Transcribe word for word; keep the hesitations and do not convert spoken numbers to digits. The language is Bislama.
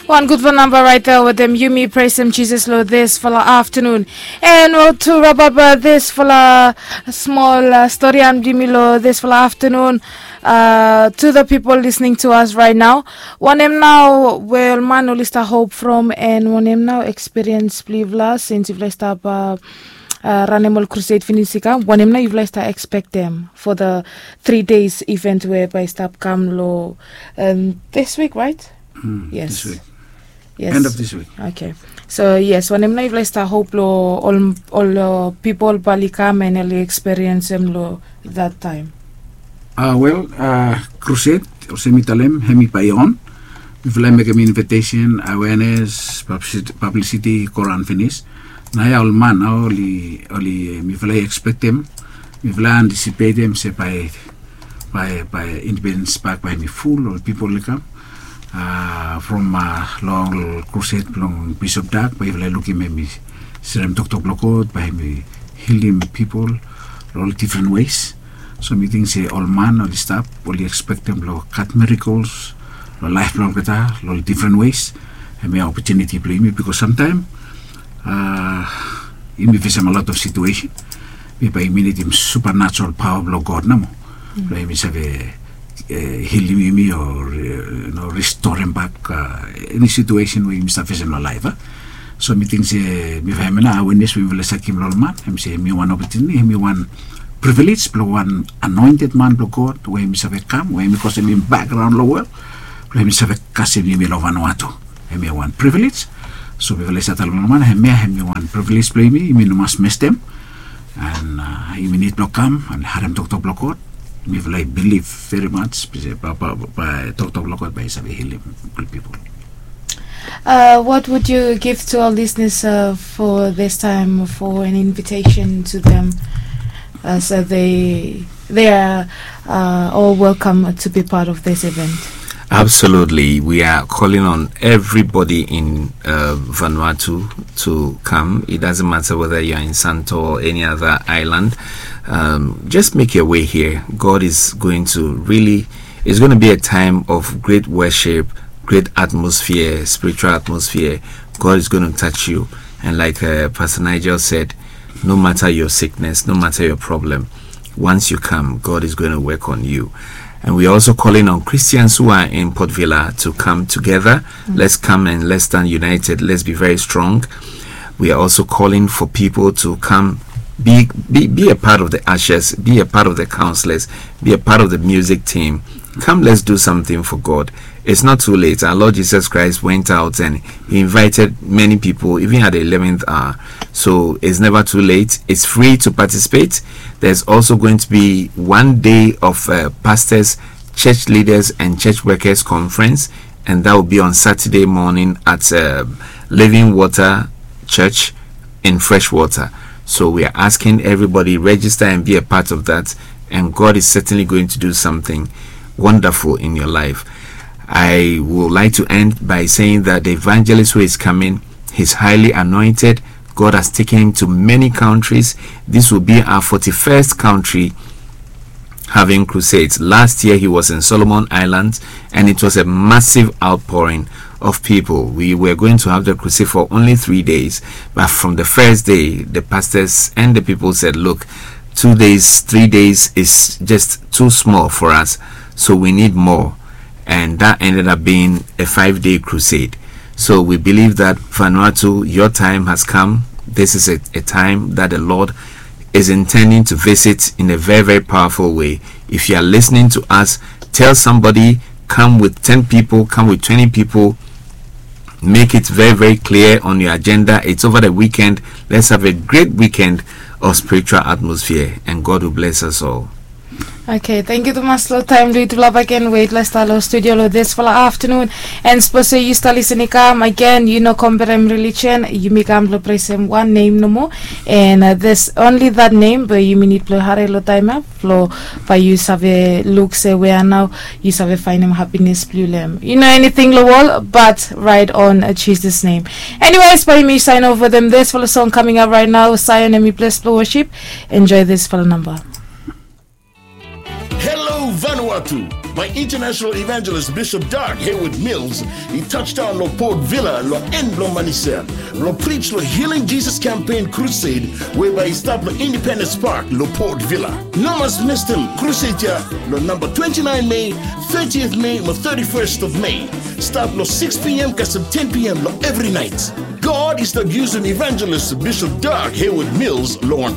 Wan gudfala namba raet ya wetem yumi presem Jisas long disfala aftanun. And well, to wrap up uh, disfala smol uh, storian blong yumi long disfala aftanun, uh, to the people listening to us right now, wanem nao we ol man oli stap hop from, and wanem nao ekspiriens blong yufala sins yufala i stap uh, uh, ranem ol krused finis i kam, wanem nao yufala i stap ekspektem for the three days event we bae i stap kam long um, this week, right? Mm, yes. This week. Yes. End of this week. Okay. So yes, wanem nao yufala i stap hop long ol ol uh, pipol bae oli kam and oli eksperiensem long that time? Uh, well, uh, crusade, olsem mi talem, hem i bae i on. Mifala i mekem invitation, awareness, publicity, publicity i go raon finis. Naoia ol man nao oli, oli mifala i ekspektem, mifala i antisipetem se bae, bae, bae Independence Park bae hem i ful, ol pipol oli kam. Uh, from uh, long crusade blong Bishop Dag, bae yufala i lukim hem i serem toktok blong God, bae hem i hilim pipol long ol different ways. So mi ting se ol man oli stap, oli ekspektem blong gat miracles long laef blong olgeta long ol different ways. Hemia opotuniti blong yumi, bikos samtaem uh, yumi fesem a lot of situation we bae yumi nidim supernatural paoa blong God nomo blong yumi save uh, hilim yumi o uh, you know, ristorem bak uh, eni situation we yumi stap fesem long laef. Uh. So mi ting se mifala hem i nao awenes we mifala i save givim long ol man, hem se hem i wan opotuniti, hem i wan privilege blong wan anointed man blong God we hem i save kam, we hem i go olsem hem i background long world, blong hem i save kasem yumi long Vanuatu. Hem i wan privilege. So mifala i save talem long ol man, hemia hem i wan privilege blong yumi, yumi no mas mestem. And uh, yumi nid blong kam and harem toktok blong God. Mifala i bilif very much, bae toktok blong God bae i save hilim ol pipol. Uh, what would you give to our listeners uh, for this time, for an invitation to them uh, so they they are uh, all welcome to be part of this event? Absolutely. We are calling on everybody in uh, Vanuatu to come. It doesn't matter whether you're in Santo or any other island. Um, just make your way here. God is going to really, it's going to be a time of great worship, great atmosphere, spiritual atmosphere. God is going to touch you. And like uh, Pastor Nigel said, no matter your sickness, no matter your problem, once you come, God is going to work on you. And we are also calling on Christians who are in Port Vila to come together. Mm. Let's come and let's stand united. Let's be very strong. We are also calling for people to come be, be, be a part of the ushers, be a part of the counselors, be a part of the music team. Come, let's do something for God. It's not too late. Our Lord Jesus Christ went out and he invited many people, even at the eleventh hour. So it's never too late. It's free to participate. There's also going to be one day of uh, pastors, church leaders, and church workers conference, and that will be on Saturday morning at uh, Living Water Church in Freshwater. So we are asking everybody register and be a part of that, and God is certainly going to do something wonderful in your life. I would like to end by saying that the evangelist who is coming, he's highly anointed. God has taken him to many countries. This will be our forty-first country having crusades. Last year he was in Solomon Islands and it was a massive outpouring of people. We were going to have the crusade for only three days, but from the first day, the pastors and the people said, look, two days, three days is just too small for us, so we need more. And that ended up being a five day crusade. So we believe that Vanuatu, your time has come. This is a, a time that the Lord is intending to visit in a very, very powerful way. If you are listening to us, tell somebody, come with ten people, come with twenty people. Make it very, very clear on your agenda. It's over the weekend. Let's have a great weekend of spiritual atmosphere, and God will bless us all. Okay, thank you tumas long taem blong yutufala baken we yutufala stap long studio long disfala aftanun. And sapos se yu stap lisin i kam agen, yu no komperem religion, yumi kam blong presem wan nem nomo. And uh, there's only that name, be yumi nid blong hare long taem ya blong bae yu save luk se wea nao yu save faenem hapines blong yu long hem. Yu no eniting long wol, but ride on uh, Jesus name. Anyways, bae yumi saen ova dem disfala song coming up right now. Saen, hem i ples blong worship. Enjoy disfala namba. Hello, Vanuatu. By International Evangelist Bishop Doug Hayward Mills, he touched down lo Port Vila lo en blo Manisel, lo preach lo Healing Jesus Campaign Crusade, whereby he start lo Independence Park lo Port Vila. No mas miss them crusade ya lo number twenty-nine May, thirtieth May, mo thirty-first of May. Start lo six p.m. kasem ten p.m. lo every night. God is the use of Evangelist Bishop Doug Hayward Mills lo one